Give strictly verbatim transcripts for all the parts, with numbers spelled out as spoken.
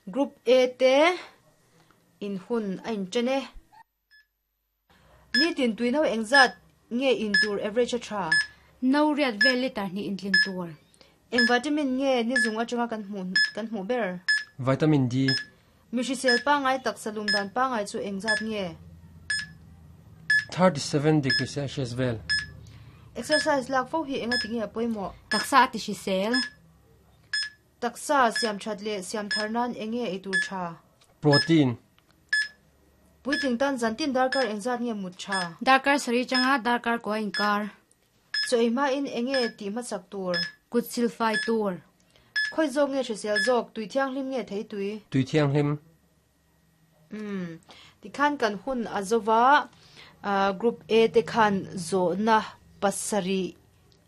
Group A te in hun a inṭan e. Nitin tui no engzat nge in tur average a tha? No riat vel litre hnih in tlin tur. Eng vitamin nge ni zung atanga kan hmuh kan hmuh ber? Vitamin D. Mi hrisel pangai taksa lum dan pangai chu engzat nge? thirty seven degree Celsius vel. Exercise lak fo hi enga tinge a pawimawh? Taksa a ti hrisel. Taksa siam that leh siam thar nan enge ei tur tha? Protein. Puitling tan zantin darkar engzat nge mut tha? Darkar sarih changa darkar kua inkar. Chaw ei hmain enge tih hmasak tur? Kut silfai tur. Khawi zawk nge hrisel zawk, tui thianghlim nge thei tui? Tui thianghlim. Umm, tikhan kan hun a zova Group A te khan zawhna pasarih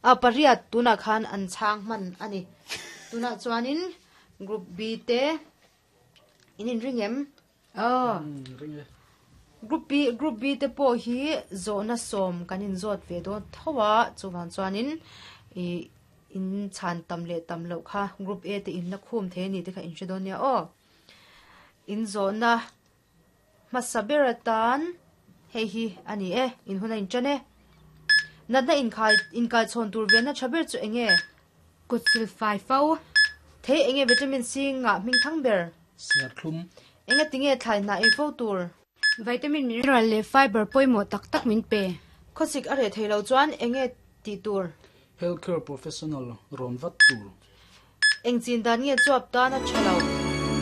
a pariat tunah khan an chhang hman a ni. Tunah chuanin Group B te in inring em? Aw. Group B, Group B te pawh hi zawhna sawm kan inzawt ve dawn tho a, chuvang chuanin ih in chhan tam leh tam loh kha Group A te in la khum thei a ni te kha in hre dawn nia aw. In zawhna hmasa ber atan hei hi a ni e, in hun a inṭan e. Natna inkhai inkaichhawn tur venna tha ber chu eng nge? Kut silfai fo. Thei eng nge vitamin C ngah hming thang ber? Serthlum. Enga tinge thlai hnah ei fo tur? Vitamin, mineral leh fiber pawimawh tak tak min pe. Khawsik a reh thei lo chuan eng nge tih tur? Healthcare professional rawn vat tur. Eng chin dan nge chuap tan a tha lo?